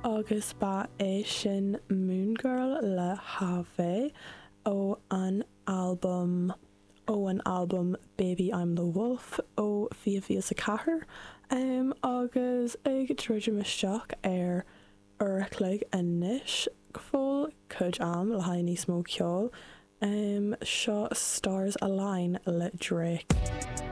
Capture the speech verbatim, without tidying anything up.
Agus ba é sin Moon Girl le Haive ó an albam ó an albam Baby I'm the Wolf ó fiche fiche a ceathair um, agus ag druidim isteach ar uair a chloig anois go fóill cuid am le haghaidh níos mó ceoil um, seo Stars Align le Drake.